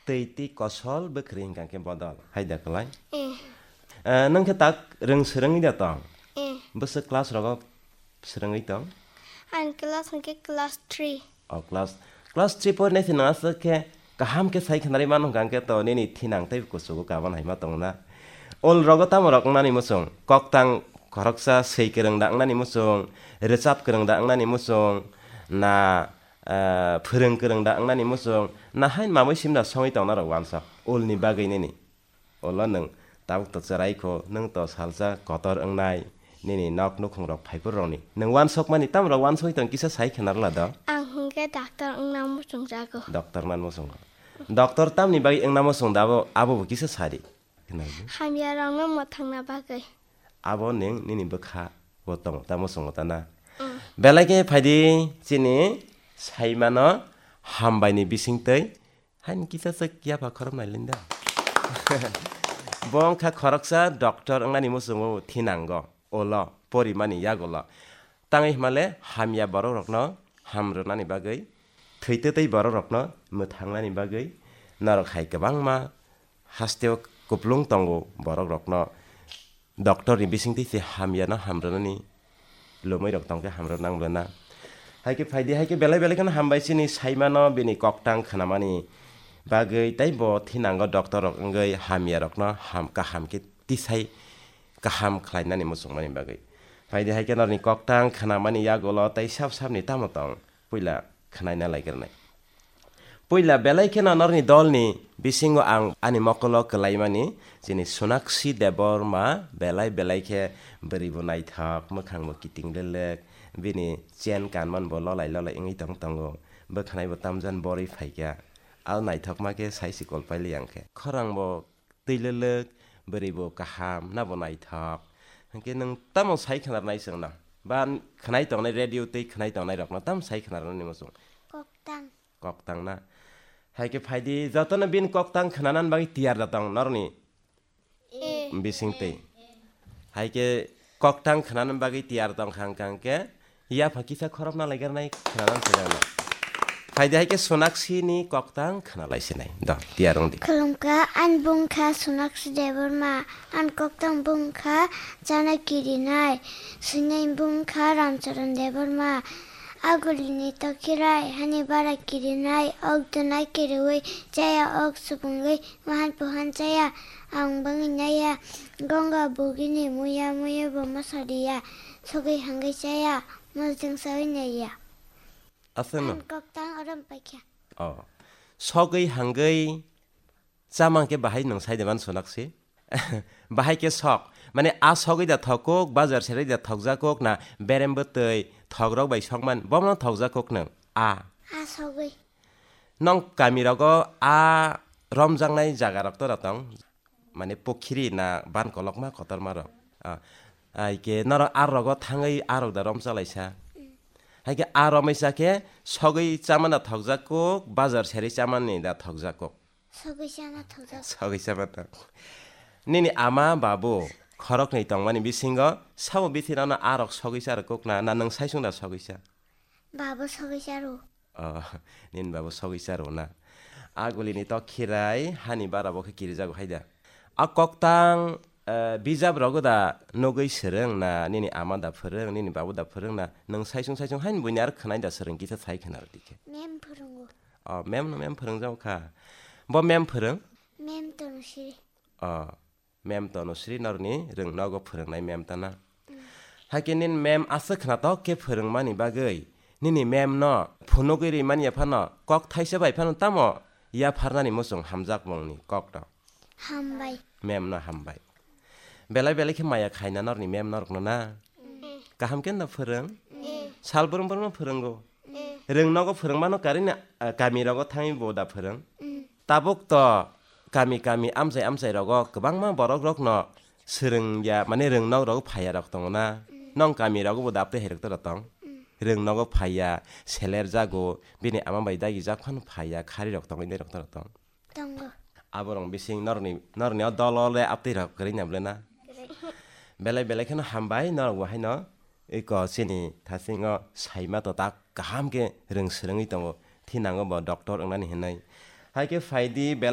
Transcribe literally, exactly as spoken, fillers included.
Twi twi kosol bwkhwrwi hwnkha khe bodol. Hai da kwlai? Eh. Eh, nwng khe tak rwng swrwngwi da tong? Eh. Bwswk class rogo swrwngwi tong? Ang class hwnkhe class three. O class, class three porinai se nwng aswk khe kaham khe sai khnarwi mano hwnkha khe to nini thinang tei kuchugo kaban hai ma tongna. Ol rogo tamo rok wngnani muchung? Koktang khoroksa swi kwrwng da wngnani muchung, rwchap kwrwng da wngnani muchung, na, eh, phwrwng kwrwng da wngnani muchung, na hain mamwi simda songwi tongna rok wansok ulni bagwi nini. Ulo nwng tabuk to chwrai kho, nwng to salsa kotor wngnai, nini nok nukhung rok phaiphur rokni. Nwng wansokmani tamo rok wansogwi tong kisa sai khna rwla do. Ang hwnkhe doctor wngna muchung jago. Doctor nan muchungo. Doctor tamni bagwi wngna muchung da abo, abo bo kisa sadi. Khna di. Hamya rokno mwthangna bagwi. Abo nwng nini bwkha bo tongo ta muchungo ta na. Mm. Belai khe phaidi chini saimano hambaini bisingtwi. Haini kisa se yapha khorop nai linda. Bo wngkha khoroksa doctor wngnani muchungo thinango, ulo, porimani yagulo. Tangwi hwnmale hamya borok rokno ham rwnani bagwi, thwi twtwi borok rokno mwthangnani bagwi, norok hai kwbangma hasteo kuplung tongo borok rokno. Doctor ni bisingtwi se hamya no hamrwnani lomwi rok tongkhe hamrw nang bwna. Hai khe phaidi, hai khe belai belai kheno hambai chini saimano bini koktang khnamani bagwi, tei bo thinango doctor rok wngwi hamya rokno ham, kaham khe tisai kaham khlainani muchungmani bagwi. Phaidi hai khe norni koktang khnamani yagulo tei sab sabni tamo tong? Puila khnaina laigrwnai. Puila belai kheno norni dolni bisingo ang ani mokolo kwlaimani chini Sonakshi Debbarma belai belai khe bwrwi bo naithok, mwkhang bo kiting lelek, bini chen kanman bo lolai lolai wngwi tong tongo, bwkhanai bo tamjan borwi phaikha. Al naithokma khe sai sikol paili ang khe. Khorang bo twi lelek, bwrwi bo kaham, na bo naithok. Hwnkhe nwng tamo sai khwnarnai chwngno? Ba khnai tongnai radio tei khnai tongnai rokno tamo sai khwnarnani muchung? Koktang. Koktang na? Hai khe phaidi, jotono bini koktang khwnanani bagwi tiyar da tong norokni Eh. bisingtwi. Hai khe koktang khwnanani bagwi tiyar tong kha hwnkha hwnkhe, yapha kisa khorop na laigarnai khwnanan sinai. Phaidi hai khe Sonakshi ni koktang khwnalai sinai. Do, tiyar wng di. Khulumkha, ani bung kha Sonakshi Debbarma, ani koktang bung kha chana kirinai, sinai bung kha Ramcharan Debbarma. Agulini tokhirai, hani bara kirinai, ok dwnai kiriwi, chaya ok subungwi, Wahan pohan chaya, ang bangwi naiya, Ganga bugini muya muya bo mosodiya, sogwi hangwi chaya, mosdeng sawi naiya. Aswkno? Ang koktang orom paikha. Oh. Sogwi hangwi chamang khe bahai nwng sai de man Sonakshi? Bahai khe sok. Mane a sogwi da thok kuk, bazar serai da thokjak kuk na berem bwtwi thokrok bai sokman, bomo thokjak kuk nwng? A. A sogwi. Nong kami rogo a romjaknai jaga rok tora tong? Mane pukhiri na ban kolokma kotorma rok? Ah, hai khe norok a rogo thangwi a rok da romchalaisa? Hai khe a romaisa khe sogwi chamani da thokjak kuk, bazar serwi chamani da thokjak kuk? Sogwi chama thokjak. Sogwi chama thok. Nini ama babu khoroknwi tongmani bisingo sabo bithi rano a rok sogwi cha rw kuk na, na nwng sai chwng da sogwi cha? Babu sogwi cha rw. Oh, nini babu sogwi cha rw na. Agulini tok khirai hani bara bo khe kirijago hai da. A koktang, eh, bijap rogo da nugwi swrwng na, nini ama da phwrwng, nini babu da phwrwng na, nwng saichung saichung haini buini aro khwnai da swrwng kisa sai khwna rw di khe. Mem phwrwngo. Oh, mem no mem phwrwng jago kha. Bo mem phwrwng? Mem Tanusri. Oh. Mem Tanusri norni rwng nogo phwrwngnai mem tana. Hakhe nini mem aswk khwnatok khe phwrwngmani bagwi nini mem no phunugwi rimani yaphano kok thaisa bai phano tamo yapharnani muchung hamjak mungni kokno? Hambai. Mem no hambai. Belai belai khe maya khaina norni mem norokno na? Mm. Kaham khe no phwrwng? Mm. Sal brum brum no phwrwngo? Mm. Rwng nogo phwrwngmano karina, ah, kami rogo thangwi bo da phwrwng? Mm. Tabuk to kami kami amchai amchai rogo kwbangma borok rokno swrwngya, mane rwng nok rogo phaiya rok tongo na? Mm. Nong kami rogo bo dapte hai rok tora tong? Mm. Rwng nogo phaiya, seler jago, bini ama bai dagi jak phano phaiya, khari rok tongo, indai rok tora tong? Tongo. Aborok bising norni, norni o dolo le aptwi rok kwrwi na ble na? Kwrwi. Belai belai kheno hambai norok bo haino. Eko chini thasingo saima to tak kaham khe rwng swrwngwi tongo, thinango bo doctor wngnani hinwi. Hai khe phaidi